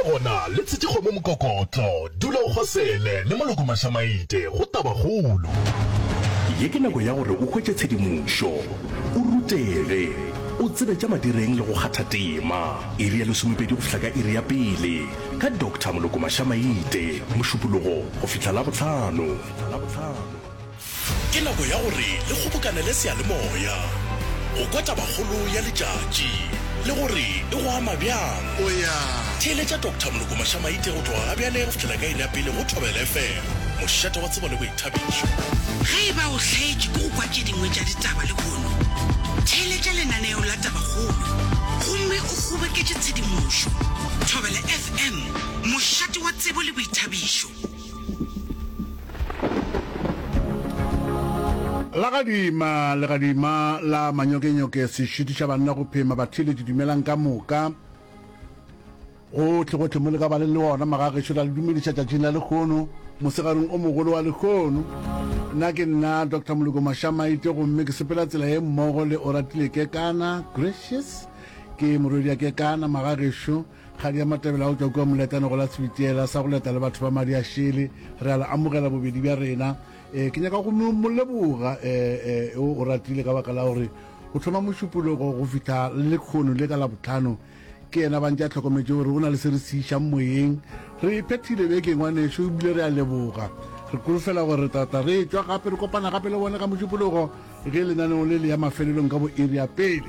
gona le tshetše kgomo mokokotlo, dula o kgosele le Moloko Mašamaite go Tabakgolo. Ye ke nako ya gore o hwetše tshedimošo, o rutege, o tsebe tša madireng le go kgatha tema. Iri ya lesomepedi go fihla ka iri ya pele ka Doctor Moloko Mašamaite, Mošupologo go fihla Labohlano. Ke nako ya gore le kgobokanele seyalemoya go kwa tabakgolo ya letšatši le gore e go ama bjang. Theeletša Doctor Moloko Mašamaite go tloga gabjale go fihlela ka iri ya pele go Thobela FM, mošate wa tsebo le boithabišo. Ge e ba o hlaetše ke go kwa tše dingwe tša ditaba lehono, theeletša lenaneo la Tabakgolo gomme o kgoboketše tshedimošo. Thobela FM, mošate wa tsebo le boithabišo. Legadima, legadima la manyokenyoke se šitiša banna go phema. Batheeletši dumelang ka moka. Gohle gohle mo le ka ba le le gona magagešo ra le dumediša tšatšing la lekgono, mosegareng o mogolo wa lekgono. Nna ke nna Doctor Moloko Mašamaite gomme ke sepela tsela ye mmogo le Oratile Kekana Gracious ke morwedi ya Kekana magagešo. Kgadi ya Matebele a go tšwa kua Moletane go la Sebitiela sa go leta le batho ba madi a šele. Re a le amogela bobedi bja rena. E, ke nyaka go mo leboga e, e, o ratile ka baka la gore go thoma Mošupologo go fihla le lekgono le ka Labohlano ke yena ba ntše a hlokometše gore go na le se re se išang moyeng. Re e phethile beke ngwanešo ebile re a leboga. Re kolofela gore re tla tla re etšwa gape re kopana gape le bone ka Mošupologo. Ge lenaneo le le ya mafelelong ka bo iri ya pele,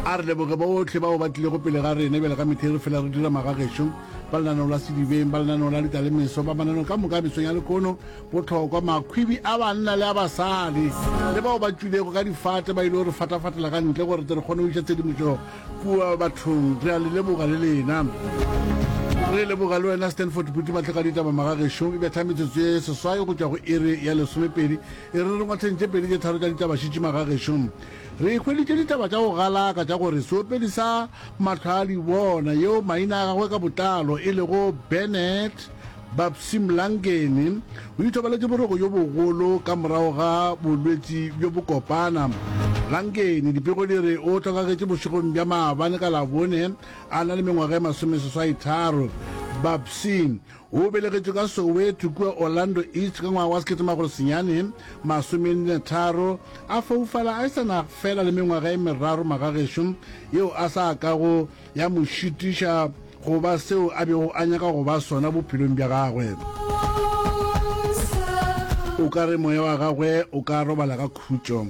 a re leboge bohle bao ba tlilego pele ga rena bjale ka methei re fela re dira magagešo, ba lenaneo la Sedibeng, ba lenaneo la Ditalemeso, ba mananeo ka moka a mesong ya lekono, bohlokwa, makhwibi a banna le a basadi, le bao ba tšwilego ka difate ba ile go re fatafatela ka ntle gore tle re kgone go iša tshedimošo kua bathong. Re a le leboga le lena. Re leboga le wena Stanford Phuti Matleka ditaba magagešo. E betha metsotso ye seswai go tšwa go iri ya lesomepedi. E re re ngwatheng tše pedi tše tharo tša ditaba šitši magagešo. Re hweditše ditaba tša go galaka tša gore seopedi sa Mahlwaadibona yeo maina a gagwe ka botlalo e lego Bennett Babsy Mlangeni o ithobaletše boroko bjo bogolo ka morago ga bolwetši bjo bokopana. Langeni, dipego di re o hlokagetše bošegong bja maabane ka Labone a na le mengwaga e masomeseswaitharo. Babsy o belegetšwe ka Soweto kua Orlando East ka ngwaga wa 1943, a foufala a sa na fela le mengwaga e meraro magagešo yeo a sa kago ya mo šitiša go ba seo a bego a nyaka go ba sona bophelong bja gagwe. O ka re moya wa gagwe o ka robala ka khutšo.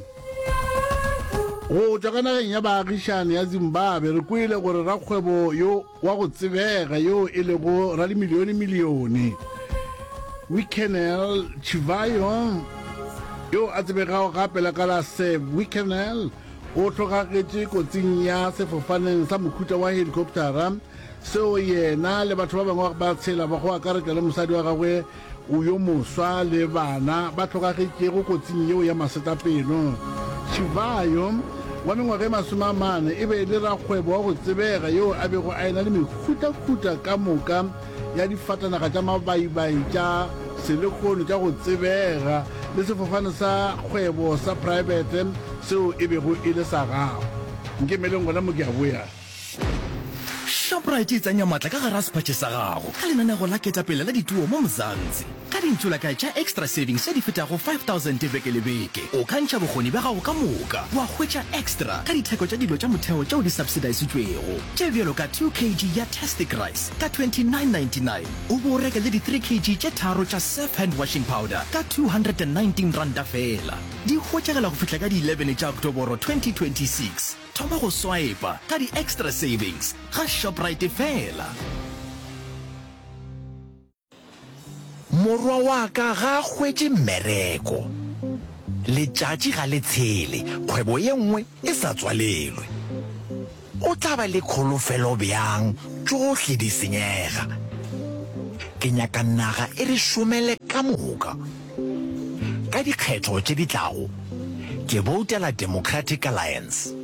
Go tšwa ka nageng ya baagišane ya Zimbabwe re kwele gore rakgwebo yo wa go tsebega yo e lego radimilione-milione Wicknell Chivayo yo a tsebegago gape la ka la Sir Wicknell o hlokagetše kotsing ya sefofaneng sa mohuta wa helikoptara seo yena le batho ba bangwe ba tshela ba go akaretša le mosadi wa gagwe o yo moswa le bana ba hlokagetšego kotsing yeo ya masetlapelo. Chivayo wa mengwaga e 40 e be e le rakgwebo wa go tsebega yoo a bego a ena le mehutahuta ka moka ya difatanaga tša mabaibai tša selehono tša go tsebega le sefofane sa kgwebo sa praebete seo e bego e le sa gagwe. Nkemeleng gona mo ke a boya. Shoprite e tsenya matla ka gare ga sephatše sa gago ka lenanego la ketapele la dituo mo Mzansi. Ka dintšolakae tša Xtra Savings tše di fetago 5000 beke le beke, o ka ntšha bokgoni bja gago ka moka wa hwetša extra ka ditheko tša dilo tša motheo tšeo di subsidisitšwego, tše bjalo ka 2 kg ya Tastic Rice ka 29.99 o bo o reke le di 3 kg tše tharo tša Surf Hand Washing Powder ka R219 feela. Di hwetšagala go fihla ka di 11 tša Oktoboro 2026. Thoma go swipa ka di Xtra Savings ga Shoprite feela. Morwa wa ka ga a hwetše mmereko. Letšatši ga le tshele kgwebo ye nngwe e sa tswalelwe. O tla ba le kholofelo bjang tšohle di senyega? Ke nyaka naga e re šomele ka moka. Ka dikgetho tše di tlago, ke boutela Democratic Alliance.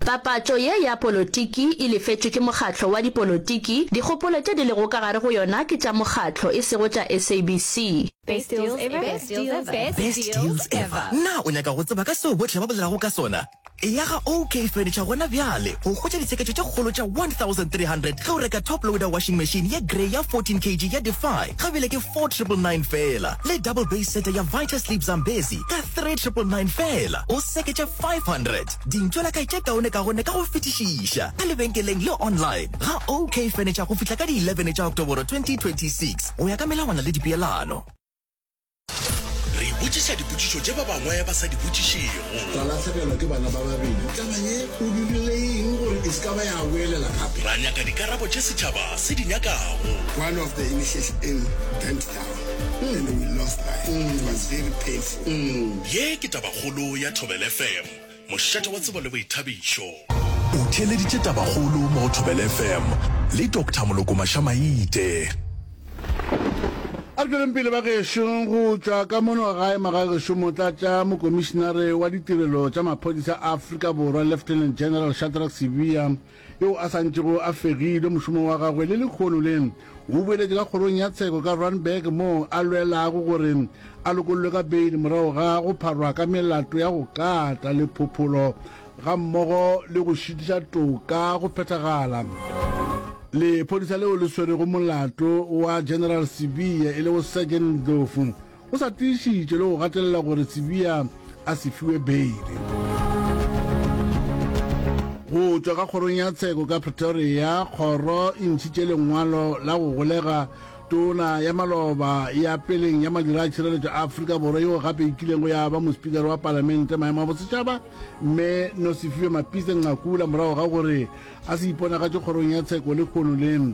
Papatšo ye ya polotiki e lefetšwe ke mokgatlo wa dipolotiki, dikgopolo tše di lego ka gare go yona ke tša mokgatlo e sego tša SABC. Best deals ever. Best deals ever. Best deals ever. Na o nyaka go tseba ka seo bohle ba bolelago ka sona? Eya ga OK Furniture gona bjale go hwetša ditsheketšo tše kgolo tša 1300 ge o reka top loader washing machine ye grey ya 14 kg ya Defy ga bjale ke 4999 feela le double base seta ya Vitasleep Zambezi ka 3999 feela o seketše 500. Dintšwelakae tše kaonekaone ka go fetišiša ka lebenkeleng le online ga OK Furniture go fihla ka di 11 tša Oktoboro 2026 go ya ka melawana le dipeelano. Re botšiša dipotšišo tše ba bangwe ba sa di botšišego. Ra lahlegelwa ke bana ba babedi. Taba ye o dirile eng gore e se ka ba ya boelela gape? Ra nyaka dikarabo tše setšhaba se di nyakago. One of the initiation burnt down and we lost life. It was very painful. Ye ke Tabakgolo ya Thobela FM, mošate wa tsebo le boithabišo. O theeleditše Tabakgolo mo go Thobela FM le Doctor Moloko Mashamaite. A re tšweleng pele bagešo go tšwa ka mono gae magagešo motlatša mokomišinare wa ditirelo tša maphodisa a Afrika Borwa Lieutenant General Shadrack Sibiya yo a sa ntšego a fegilwe mošomo wa gagwe le lekgono le o boeletše ka kgorong ya tsheko ka Randburg moo a lwelago gore a lokollwe ka beile morago ga go pharwa ka melato ya go kata le phopholo gammogo le go šitiša toka go phethagala. Lephodisa leo le swerego molato wa General Sibiya e lego Sergeant Ndlovu o sa tiišitše le go gatelela gore Sibiya a se fiwe beile. Go tšwa ka kgorong ya tsheko ka Pretoria, kgoro e ntšhitše lengwalo la go golega Tona ya maloba ya peleng ya madira a tšhireletšo a Afrika Borwa yeo gape e kilego ya ba mospikara wa palamente maemo a bosetšhaba Mme Nosiviwe Mapisa Nqakula morago ga gore a se iponagatše kgorong ya tsheko lehono le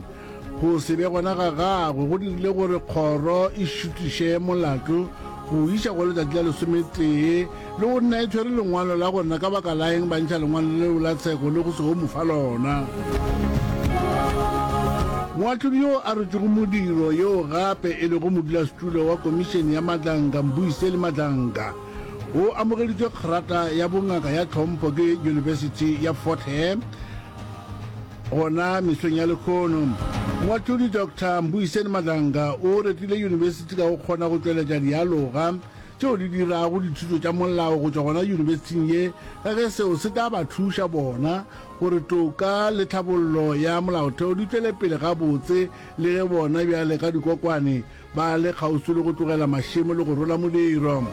go se be gona ga gagwe go dirile gore kgoro e šutiše molato go o iša go letšatši la lesometee le go nna e tshwere lengwalo la gore na ka baka la eng ba ntšha lengwalo leo la tsheko le go se go mo fa lona. Moahlodi yo a rotšego modiro yo gape e lego modulasetulo wa Komišene ya Madlanka Mbuyiseli Madlanka o amogeditšwe kgrata ya bongaka ya tlhompho ke Yunibesithi ya Fort Hare gona mesong ya lekhono. Moahlodi Doctor Mbuyiseni Madlanga o retile yunibesithi ka go kgona go tšweletša dialoga tšeo di dirago dithuto tša molao go tšwa gona yunibesithing ye ka ge seo se tla ba thuša bona gore toka le tlhabollo ya molaotheo di tšwele pele gabotse le ge bona bjale ka dikokwane Ba le kgauswi le go tlogela mašemo le go rola modiro.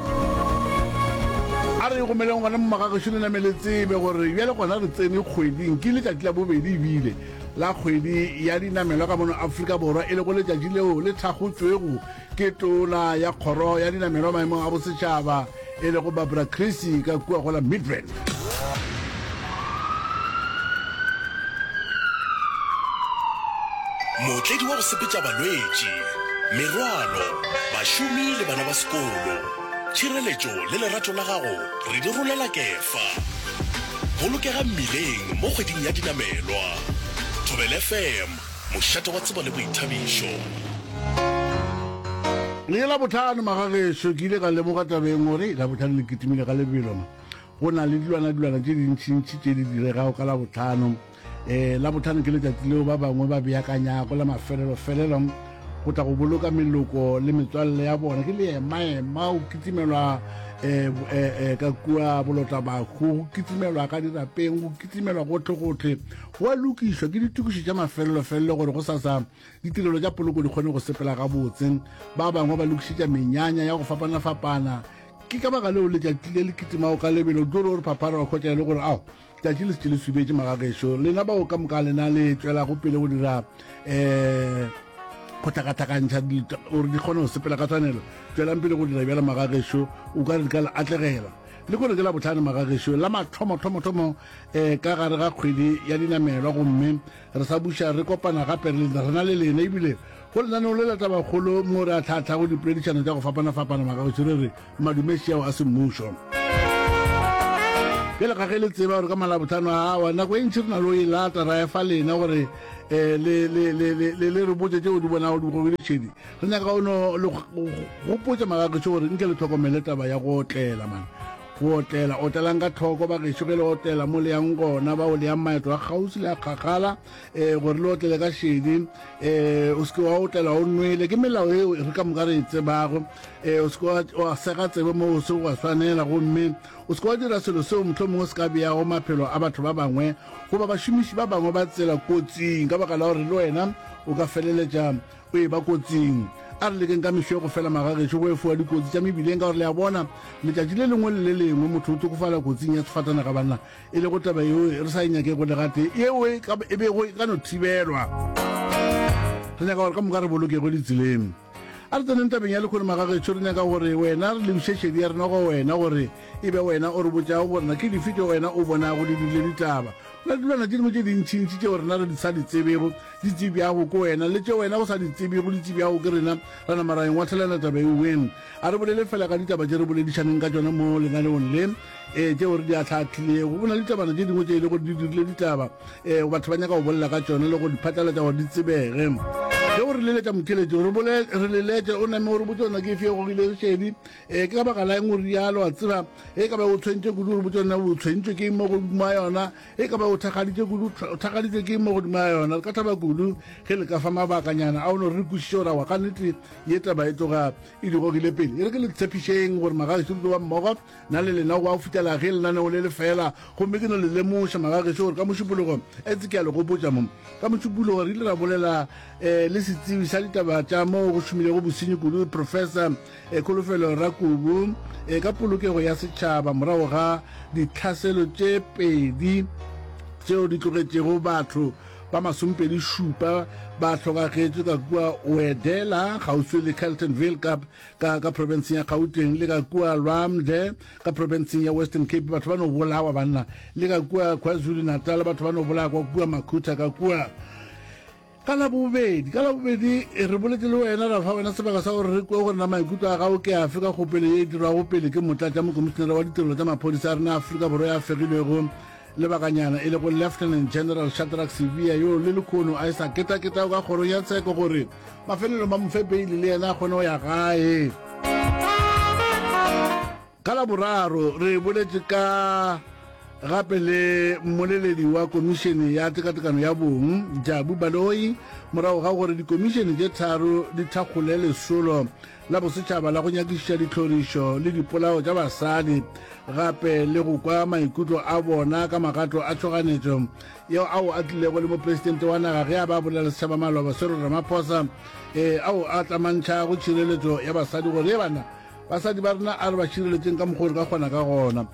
A re gomeleng gona mo magagešo le name le tsebe gore bjale gona re tsene kgweding, ke letšatši la bobedi ebile la kgwedi ya dinamelwa ka mono Afrika Borwa, e lego letšatši leo le thakgotšwego ke tona ya kgoro ya dinamelwa maemong a bosetšhaba e lego Barbara Creecy ka kua go la Midrand. Mootledi wa go sepetša balwetši, merwalo, bašomi le bana ba sekolo. Tšhireletšo le lerato la gago re di rolela kefa. Bolokega mmileng mo kgweding ya dinamelwa. Thobela FM, mošate wa tsebo le boithabišo. Le Labohlano magagešo ke ile ka lemoga tabeng gore Labohlano le kitimile ka lebelo. Go na le dilwana-dilwana tše dintšintši tše di diregago ka Labohlano. E, Labohlano ke letšatši leo ba bangwe ba beakanyago la mafelelo-felelo go tla go boloka meloko le metswalle ya bona. Ke leema-ema, go kitimelwa e, e, e, ka kua bolotlabahu, go kitimelwa ka dirapeng, go kitimelwa gohle-gohle. Go a lokišwa ke ditokišo tša mafelelo-felelo gore go sasa ditirelo tša poloko di kgone go sepela gabotse. Ba bangwe ba lokišetša menyanya ya go fapana-fapana. Ke ka baka leo letšatši le le kitimago ka lebelo, o tlo re o re phaphara wa hwetša e le gore ao, letšatši le šetše le subetše magagešo. Lena bao ka moka lena le tšwelago pele go dira um go hlakahlakantšha gore di kgone go sepela ka tshwanelo, tšwelang pele go dira bjalo magagešo, o ka re di ka le atlegela. Le kore ke Labohlano magagešo, la mathomo-thomo-thomo um ka gare ga kgwedi ya dinamelwa, gomme re sa buša re kopana gape re na le lena ebile Go lenaneo le la Tabakgolo mo re ahlaahlago dipoledišano tša go fapana-fapana magagetšo re re madumeši ao a semmušo. Bjale ga ge le tseba gore ka Malabohlano awa nako e ntši re na le go e lata ra efa lena gore um le, le, le, le, le, le re botše tšeo di bonago di gogile šedi. Re nyaka go no le gopotša magagetšo gore nke le hlokomele taba ya go otlela man. Go otlela, otlelang ka tlhoko bagešo ge le otlela mo le yang gona, bao le yang maeto a kgauswi le a kgakgala, um gore le otlele ka šedi, um o se ke wa otlela o nwele. Ke melao eo re ka moka re e tsebago. Um o se ke wa sega tsebe mo o se wa swanela, gomme o se ke wa dira selo seo mohlomongwe se ka beago maphelo a batho ba bangwe goba bašomiši ba bangwe ba tsela kotsing, ka baka la gore le wena o ka feleletša o e ba kotsing. A re lekeng ka mešo go fela magagešo go efoga dikotsi tša mebileng, ka gore le a bona, letšatši le lengwe le le lengwe motho o hlokofala kotsing ya sefatanaga banna, e lego taba yeo re sa e nyakego le gatee, yeo e ka, e bego e ka no thibelwa. Re nyaka gore ka moka re bolokego ditseleng. A re tseneng tabeng ya lehono magagešo, re nyaka gore wena re lebiše šedi ya rena go wena gore e be wena o re botšago gore na ke dife tšeo wena o bonago di dirile ditaba. Go na le dilwana tše dingwe tše dintšintši tšeo rena re sa di tsebego, di tsebjago ke wena, le tše wena o sa di tsebego di tsebjago ke rena, ra nama ra engwathelana taba ewe. A re bolele fela ka ditaba tše re boledišaneng ka tšona mo lenaneong le, ee, tšeo re di ahlaahlilego. Go na le ditabana tše dingwe tše e le gore di dirile ditaba, ee, batho ba nyaka go bolela ka tšona le go di phatlalatša gore di tsebege. Ge o re leletša motheeletši, re bole, re leletše, o name o re botše gore na ke efe e gogilego šedi, ee, ke ka baka la eng o realo, wa tseba, ge e ka ba o tshwentše kudu, re botše gore na o tshwentšwe ke eng mo godimo ga yona, Ge e ka ba o thakgaditše kudu, o thakgaditšwe ke mo godimo ga yona. Re ka thaba kudu ge le ka fa mabakanyana a o no re re kwešiše gore aowa ka nnete ye taba e tloga e di gogile pele. E re ke le tshepišeng gore magagešo re tlo ba mmogo nna le lena go ba go fihlela ge lenaneo le le fela. Gomme ke no le lemoša magagešo gore ka Mošupologo, etse ke a le gopotša mo, ka Mošupologo re ile ra bolela um le setsebi sa ditaba tša moo go šomilego bosenyi kudu, Professor Kholofelo Rakubu ka polokego ya setšhaba morago ga ditlhaselo tše pedi tšeo di tlogetšego batho ba masomepedi šupa ba hlokagetše ka kua Wedela kgauswi le Carltonville ka, ka, ka profenseng ya Gauteng le ka kua Lwamde ka profenseng ya Western Cape batho ba no bolawa banna le ka kua KwaZulu-Natal batho ba no bolawa kwa kua Makhutha ka kua Ka Labobedi, ka Labobedi re boletše le wena, ra fa wena sebaka sa gore re kwe gore na maikutlo a gago ke afe ka kgopelo ye e dirwago pele ke Motlatšamokomišenere wa Ditirelo tša Maphodisa a rena a Afrika Borwa ya fegilwego lebakanyana e lego Lieutenant General Shadrack Sibiya yo le lekhono a e sa ketaketago ka kgorong ya tsheko gore mafelelong ba mo fe beili le yena a kgone go ya gae. Ka Laboraro re boletše ka gape le mmoleledi wa Komišene ya Tekatekano ya Bong, Jabu Baloyi, morago ga gore dikomišene tše tharo di thakgole lesolo la bosetšhaba la go nyakišiša ditlhorišo le dipolao tša basadi gape le go kwa maikutlo a bona ka magato a tšhoganetšo yeo ao a tlilego le mopresidente wa naga ge a ba bolela setšhaba maloba Cyril Ramaphosa e ao a tlamantšhago tšhireletšo ya basadi gore ye bana Basadi ba rena a re ba šireletšeng ka mokgwa o re ka kgona ka gona.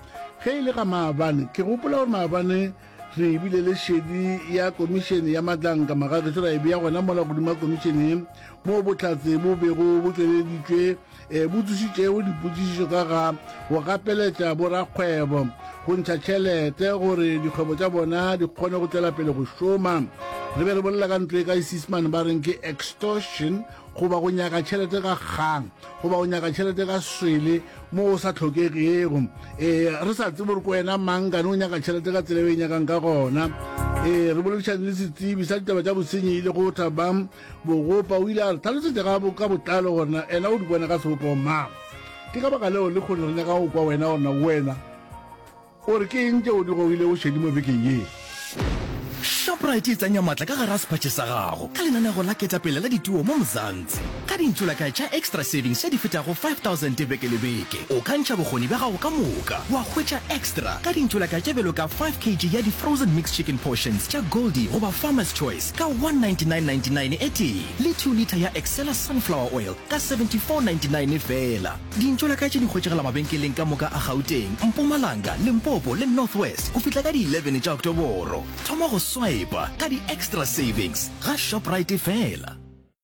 Ge e le ga maabane, ke gopola gore maabane re bile le šedi ya komišene ya Matlanka Magagešo ra e bea gona mola godimo ga komišene ye moo bohlatse bo bego bo tšweleditšwe eh, bo tsošitšego dipotšišišo ka ga go gapeletša borakgwebo go ntšha tšhelete gore dikgwebo tša bona di kgone go tšwela pele go šoma. Re be re bolela ka ntlo e ka Seesemane ba reng ke extortion goba go nyaka tšhelete ka kgang goba go nyaka tšhelete ka swele mo o sa tlhokegego ee re sa tsebe gore ko wena mang kane o nyaka tšhelete ka tsela e o e nyakang ka gona ee re boledišane le setsebi sa ditaba tša bosenyi e le go Thabang Bogopa o ile a re tlhalosetša ka ka botlalo gore na ena o di bona ka sebopego mang ke ka baka leo le kgone re nyaka go kwa wena gore na wena O re ke eng tšeo di gogilego šedi mo bekeng ye? Shoprite e tsenya matla ka gare ga sephatše sa gago ka lenanego la ketapele la dituo mo Mzansi. Ka dintšolakae tša Xtra Savings tše di fetago 5000 beke le beke, o ka ntšha bokgoni bja gago ka moka wa hwetša extra ka dintšolakae tše bjalo ka 5 kg ya di-frozen mixed chicken portions tša Goldie goba Farmer's Choice ka 199.99 e tee le 2 litre ya Excella sunflower oil ka 74.99 feela. Dintšolaka tše di hwetšagala mabenkeleng ka moka a Gauteng, Mpumalanga, Limpopo le North West go fihla ka di 11 tša Oktoboro. Thoma go swipa ka di Xtra Savings ga Shoprite fela.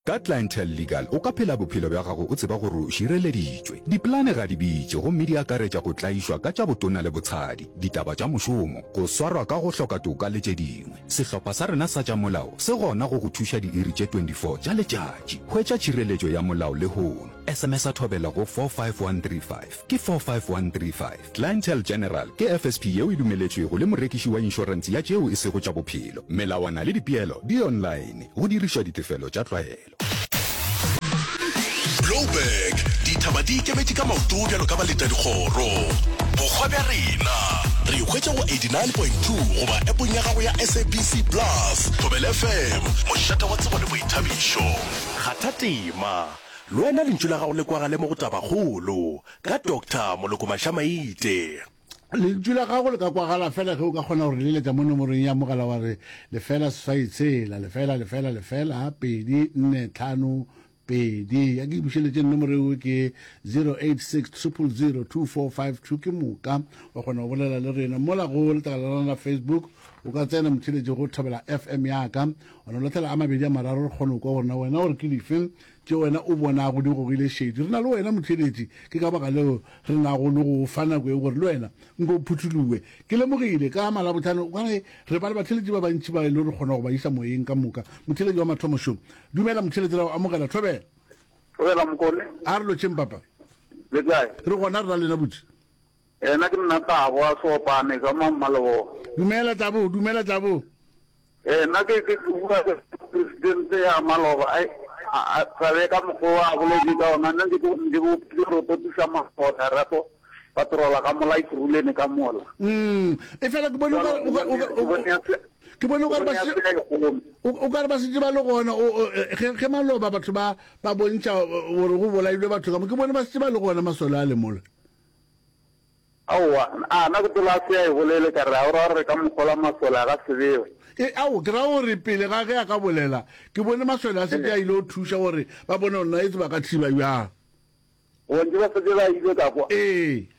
Ka Clientele Legal o ka phela bophelo bja gago o tseba gore o šireleditšwe. Dipolane ga di bitše gomme di akaretša go tlaišwa ka tša botona le botshadi, ditaba tša mošomo, go swarwa ka go hloka toka le tše dingwe. Sehlopha sa rena sa tša molao se gona go go thuša diiri tše 24 tša letšatši. Hwetša tšhireletšo ya molao lehono. SMS-a Thobela go 45135. Ke 45135. Clientele General ke FSP yeo e dumeletšwego le morekiši wa inšorense ya tšeo e sego tša bophelo. Melawana le dipeelo di online, go dirišwa ditefelo tša tlwaelo. Blouberg, Dithaba di ikemetše ka maoto bjalo ka baletadikgoro. Bohwa bja rena. Re hwetša go 89.2 goba appong ya gago ya SABC Plus. Thobela FM, mošate wa tsebo le boithabišo. Kgatha tema. Le wena lentšu la gago le kwagale mo go Tabakgolo ka Doctor Moloko Mashamaite. Lentšu la gago le ka kwagala fela ge o ka kgona go re leletša mo nomorong ya mogala wa re lefela seswai tshela lefela lefela lefela pedi nne tlhano pedi. A ke bušeletše nomoro eo ke 086 000 2452 ke moka wa kgona go bolela le rena mola go letlakala la rena la Facebook. O ka tsena motheletši go Thobela FM ya ka wa no latlhela a mabedi a mararo re kgone go kwa gore na wena gore ke dife tše wena o bonago di gogile šedi. Re na le wena motheletši, ke ka baka leo re nago le go fa nako ye gore le wena nko o phuthulowe. Ke lemogile ka Malabohlano o ka re re ba le batheletši ba bantši ba e le gore re kgona go ba isa moyeng ka moka. Motheletši wa mathomo šo. Dumela motheletši, ra go amogela. Thobela. Thobela Mokone. A re lotšheng papa. Le kae? Re gona re na lena butši. Ena ke nna Tabo a Seopane ka mo Mmalebogo. Dumela Tabo, dumela Tabo. Ee, nna ke ke bua ke presidente ya maloba ai a tsabe ka mokgwa a boletse ka ona nna ke ke ke re totisa mabota rato patrola ka mola ikurulene ka mola. Mm, e fela ke bone ke bone o ka re ba setse ba le gona ge maloba batho ba ba bontšha gore go bolailwe batho ka mo ke bone ba setse ba le gona masole a le mola. Aowa, a na ke tola a se a e bolele, ka re, a o ra gore re ka mo kgola masole a ga se bewe? E, ao, ke ra gore pele ga ge a ka bolela, ke bone masole a setse a ile go thuša gore ba bone gore na etse ba ka thiba bjang. O ntše ba setse ba ile ka kwa? Ee.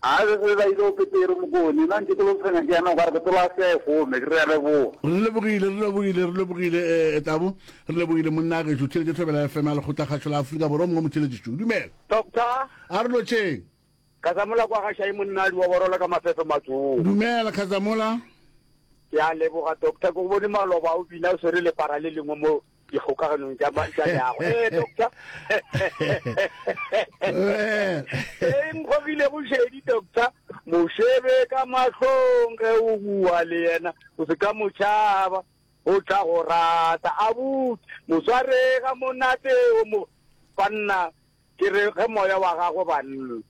A be se ba ile go Petere Mokone, nna ntše ke lo tshwenya ke yana o ka re ke tola a se a e gome, ke re a leboga. Re lebogile, re lebogile, re lebogile, eh, Tabo, re lebogile monna gešo, theletše Thobela FM ya Lekgotlakgašo la Afrika Borwa, o mongwe motheletši šo. Dumela. Doctor. A re lotšheng. Khazamola kwa ga Shai monna wa borola ka mafefe matsong. Dumela Khazamola. Ke a leboga doctor, ke go bone maloba o bina o swere lepara le lengwe mo dikgokaganong tša tša leago. Eh doctor. E nkgogile go šedi doctor, mo shebe ka mahlong ge o bua le yena, o se ka mo tšhaba, o tla go rata. Abuti, mo sware ga monate o mo banna Ke re ge moya wa gagwe banna.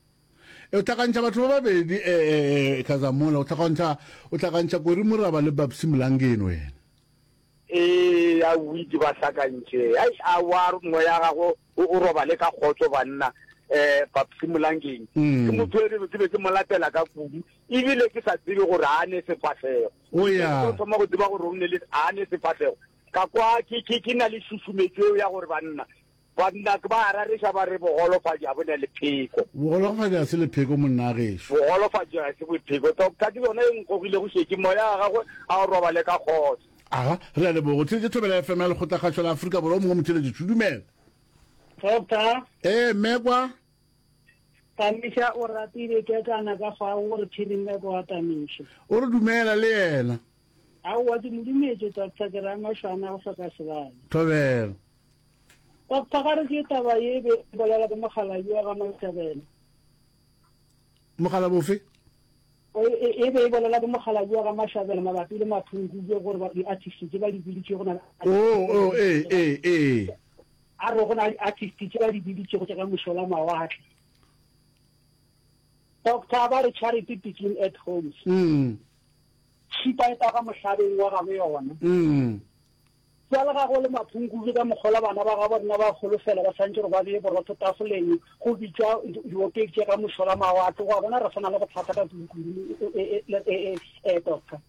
O hlakantšha batho ba babedi eh, eh, Khazamola, o hlakantšha, o hlakantšha Kori Moraba le Babsy Mlangeni wena. Ee, a witse ba hlakantše. Ai, a wa moya gagwe o, o robale ka kgotso banna. Eh, Babsy Mlangeni. Mm. Ke motho e re ke be ke mo latela ka kudu, ebile ke sa tsebe gore a ne sefahlego. O ya. Ke thoma go tseba gore o ne le a ne sefahlego. Ka kwa ke ke ke na le šušumetšo eo ya gore banna Banna ke ba a rareša ba re bogolofadi ga bo na lepheko. Bogolofadi ga se lepheko monna gešo. Bogolofadi ga se bopheko. Doctor ke yona e nkogilego šetše moya wa gagwe a o robale ka kgotso. Aga, re a leboga. O theetše Thobela FM ya Lekgotlakgašo la Afrika Borwa. O mongwe motheeletši tšhu. Dumela. Doctor. Ee, mme kwa. Tamiša o ratile kekana ka fao o re phiri mme kwa Tamiša. O re dumela le yena. Aowa ke mo dumetše doctor ke ra mašwana go hloka sebane. Thobela. Doctor ga re ke taba ye be e bolela ke mokgalabje wa ga Mashabela. Mokgalabje ofe? E, e be e bolela ke mokgalabje wa ga Mashabela mabapi le Maphunkuke gore ba di-artist tše ba di biditšego na Oh, oh, ee, ee, ee. A re go na le di-artist tše ba di biditšego tša ka mošola mawatle. Doctor ba re charity begin at home. Mm. Tšhipa e taga mohlabeng wa gabo yona. Mm. Bjale ga go le Maphunkubu ka mokgola bana ba gabo rena ba holofela ba swantše gore ba bee borotho tafoleng go bitšwa diopedi tše ka mošola mawatle go a bona re sa na le bothata ka kudu-kudu e doctor.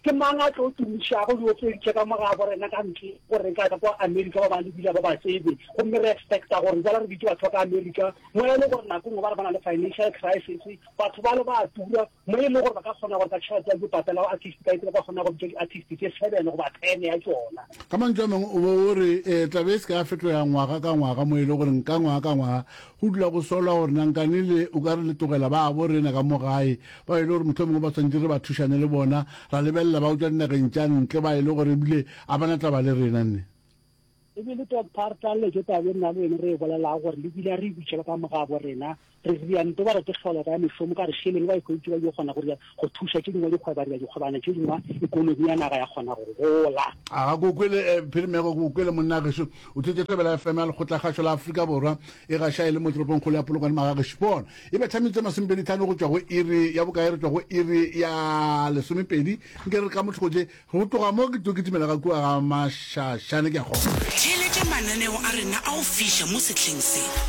Ke mang a tlo tumišago diopedi tše ka mo gabo rena ka ntle gore ka ka kwa Amerika ba ba lebile ba ba tsebe gomme re expecta gore jala re bitše batho ba ka Amerika mo e le gore nako nngwe ba re ba na le financial crisis batho ba le ba tura Mo e le gore ba ka kgona gore ka tšhelete ya dipapela go artist ka ba ka kgona go bitša di-artist tše seven goba ten ya tšona. Ka mantšu a mangwe o be o re um taba e se ka ya fetoga ngwaga ka ngwaga mo e le gore ka ngwaga ka ngwaga go dula go solwa gore nankane le o ka re le tlogela ba bo rena ka mo gae ba e le gore mohlomongwe ba swanetše re ba thušane le bona ra lebelela ba go tšwa dinageng tša ntle ba e le gore ebile a ba na taba le rena nne. Ebile Doctor re tlaleletše taba e nna le wena re e bolelago gore le bile re e bitšela ka mogabo rena. Re ria nto ba re ke hloleka ya mešomo ka re šeleng ba e hweditše ba yo kgona go ria go thuša tše dingwe dikgweba ria dikgwebana tše dingwe ekonomi ya naga ya kgona go gola. A ga ke o kwele eh, Phirimego, ke o kwele monna gešo. O thwetše Thobela FM ya Lekgotlakgašo la Afrika Borwa e gaša e le mo toropongkgolo ya Polokwane Magagešo. Bona, e betha metsotso e masomepedi-tlhano go tšwa go iri ya bokae? Re tšwa go iri ya lesomepedi. Nke re ka mothoko tše, go tloga mo ke tlo kitimela ka kua ga Mašašane ke a kgona. Theeletša mananeo a rena a go fiša mo sehleng se.